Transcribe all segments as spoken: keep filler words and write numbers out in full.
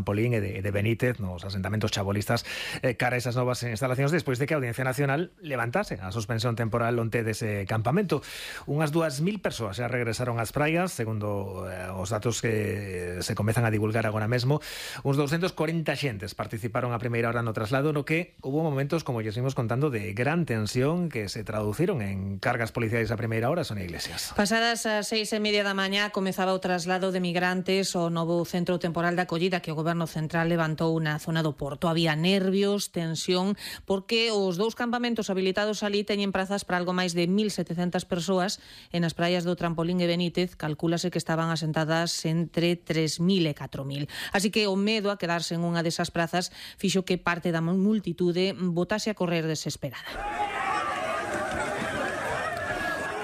Trampolín e de, de Benítez nos asentamentos chabolistas eh, cara a esas novas instalacións despois de que a Audiencia Nacional levantase a suspensión temporal onte dese campamento. Unhas dúas mil persoas xa regresaron ás praias, segundo eh, os datos que se comezan a divulgar agora mesmo. Uns doscientos corenta xentes participaron a primeira hora no traslado, no que hubo momentos, como lle seguimos contando, de gran tensión que se traduciron en cargas policiais a primeira hora. Sonia Iglesias. Pasadas as seis e media da mañá comezaba o traslado de migrantes ao novo centro temporal de acollida que o Goberno Central levantou na zona do Porto. Había nervios, tensión, porque os dous campamentos habilitados ali teñen prazas para algo máis de mil setecentas persoas e nas praias do Trampolín e Benítez calcúlase que estaban asentadas entre tres mil e catro mil. Así que o medo a quedarse en unha desas prazas fixo que parte da multitude botase a correr desesperada.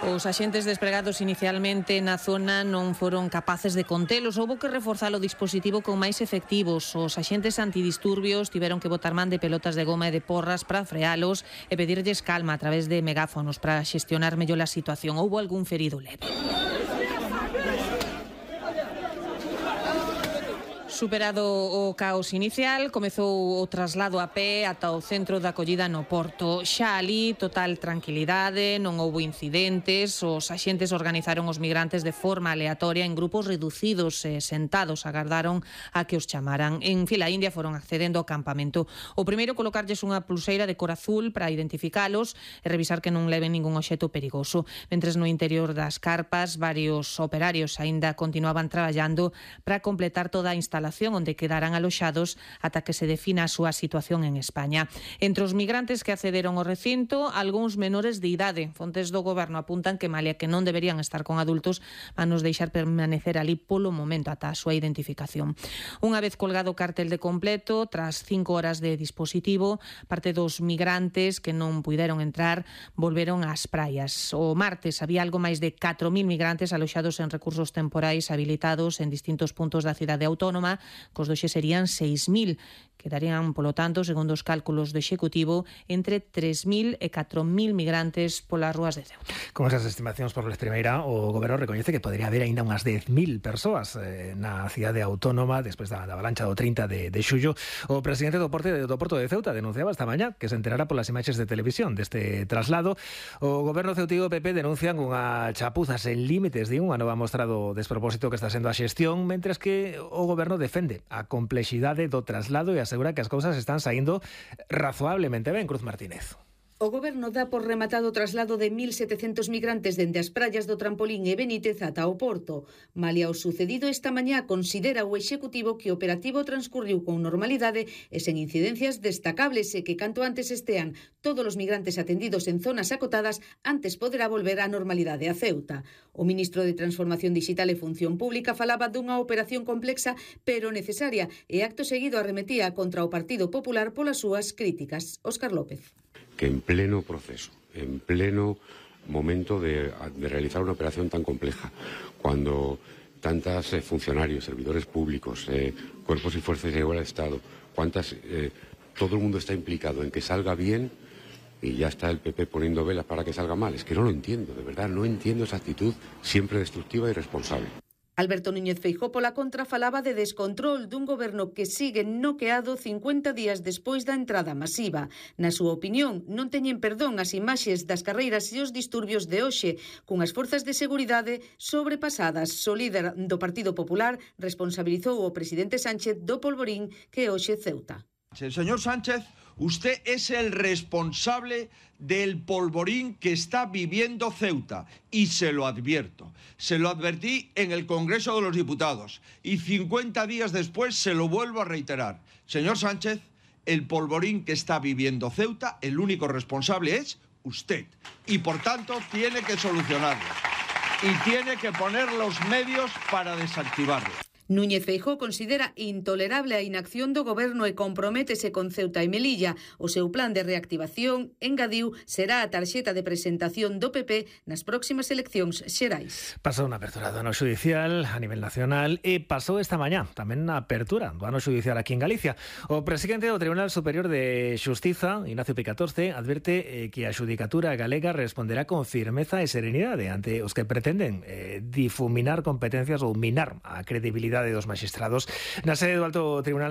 Os axentes despregados inicialmente na zona non foron capaces de contelos. Houbo que reforzar o dispositivo con máis efectivos. Os axentes antidisturbios tiveron que botar man de pelotas de goma e de porras para frealos e pedirlles calma a través de megáfonos para xestionar mellor a situación. Houbo algún ferido leve. Superado o caos inicial, comezou o traslado a pé ata o centro de acollida no Porto. Xa ali, total tranquilidade, non houbo incidentes, os axentes organizaron os migrantes de forma aleatoria en grupos reducidos e sentados agardaron a que os chamaran. En fila india foron accedendo ao campamento. O primeiro, colocarlles unha pulseira de cor azul para identificalos e revisar que non leven ningún obxecto perigoso. Mentres no interior das carpas, varios operarios aínda continuaban traballando para completar toda a instalación onde quedarán aloxados ata que se defina a súa situación en España. Entre os migrantes que accederon ao recinto, algúns menores de idade. Fontes do Goberno apuntan que, malia que non deberían estar con adultos, van nos deixar permanecer ali polo momento ata a súa identificación. Unha vez colgado o cartel de completo, tras cinco horas de dispositivo, parte dos migrantes que non puideron entrar volveron ás praias. O martes había algo máis de catro mil migrantes aloxados en recursos temporais habilitados en distintos puntos da cidade autónoma. Cos doxe serían seis mil. Quedarían, polo tanto, segundo os cálculos do Executivo, entre tres mil e catro mil migrantes polas rúas de Ceuta. Con esas estimacións por vez primeira, o Goberno recoñece que podría haber aínda unhas dez mil persoas eh, na cidade autónoma despois da, da avalancha do trinta de, de xullo. O presidente do Porto, do Porto de Ceuta denunciaba esta mañá que se enterara polas imaxes de televisión deste traslado. O Goberno ceutigo P P denuncian unha chapuza sen límites, di unha nova mostra do despropósito que está sendo a xestión, mentres que o Goberno defende a complexidade do traslado e asegura que as cousas están saindo razoablemente ben. Cruz Martínez. O Goberno dá por rematado o traslado de mil setecentos migrantes dende as praias do Trampolín e Benítez ata o Porto. Malia o sucedido esta mañá, considera o Executivo que o operativo transcurriu con normalidade e sen incidencias destacables e que canto antes estean todos os migrantes atendidos en zonas acotadas, antes poderá volver á normalidade a Ceuta. O ministro de Transformación Digital e Función Pública falaba dunha operación complexa pero necesaria e acto seguido arremetía contra o Partido Popular polas súas críticas. Óscar López. Que en pleno proceso, en pleno momento de, de realizar una operación tan compleja, cuando tantos eh, funcionarios, servidores públicos, eh, cuerpos y fuerzas de seguridad del Estado, cuántas, eh, todo el mundo está implicado en que salga bien y ya está el P P poniendo velas para que salga mal. Es que no lo entiendo, de verdad, no entiendo esa actitud siempre destructiva y irresponsable. Alberto Núñez Feijóo pola contra falaba de descontrol dun goberno que sigue noqueado cincuenta días despois da entrada masiva. Na súa opinión, non teñen perdón as imaxes das carreiras e os disturbios de hoxe, cunhas forzas de seguridade sobrepasadas. O líder do Partido Popular responsabilizou o presidente Sánchez do polvorín que hoxe Ceuta. Señor Sánchez, usted es el responsable del polvorín que está viviendo Ceuta y se lo advierto. Se lo advertí en el Congreso de los Diputados y cincuenta días después se lo vuelvo a reiterar. Señor Sánchez, el polvorín que está viviendo Ceuta, el único responsable es usted y por tanto tiene que solucionarlo y tiene que poner los medios para desactivarlo. Núñez Feijóo considera intolerable a inacción do Goberno e comprométese con Ceuta e Melilla. O seu plan de reactivación, engadiu, será a tarxeta de presentación do P P nas próximas eleccións xerais. Pasou na apertura do ano xudicial a nivel nacional e pasou esta mañá tamén na apertura do ano xudicial aquí en Galicia. O presidente do Tribunal Superior de Xustiza, Ignacio Picatorce, advirte eh, que a xudicatura galega responderá con firmeza e serenidade ante os que pretenden eh, difuminar competencias ou minar a credibilidade dos magistrados. Na sede do Alto Tribunal